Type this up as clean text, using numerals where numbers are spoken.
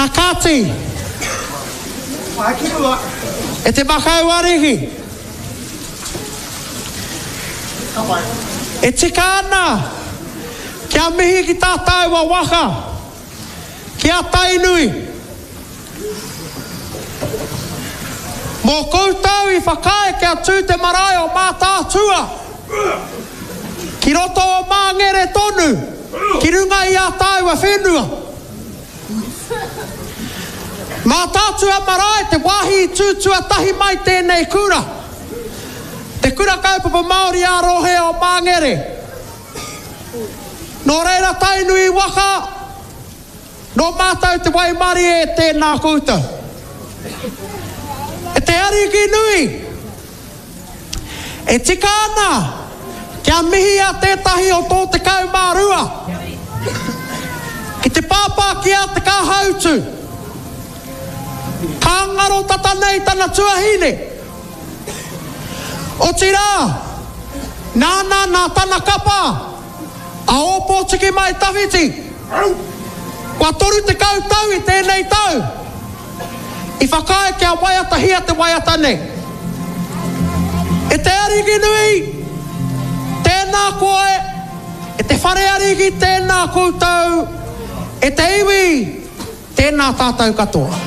A kāti, e te makau ariki, e tika ana kia mihi ki tā tāua waka, ki a Tainui, mō koutou i whakaae kia tū te marae o Mātaatua ki roto o Māngere tonu, ki runga i ā tāua whenua. Mātaatua marae te wāhi i tū tuatahi mai tēnei kura, Te Kura Kaupapa Māori ā-Rohe o Māngere. Nō reira Tainui waka, nō mātou te waimarie tēnā koutou. E te Ariki nui, e tika ana kia mihia tētahi o tō 12 ki te pāpā ki a Te Kāhautu. Ka ngaro tata nei tana tuahine. Otirā, nāna nā tana kapa a Ōpōtiki Mai Tawhiti, kua 30 tau i tēnei tau, i whakaae kia waiatahia te waiata nei. E te Ariki nui, tēnā koe, e te Whare Ariki tēnā koutou, e te iwi, tēnā tātou katoa.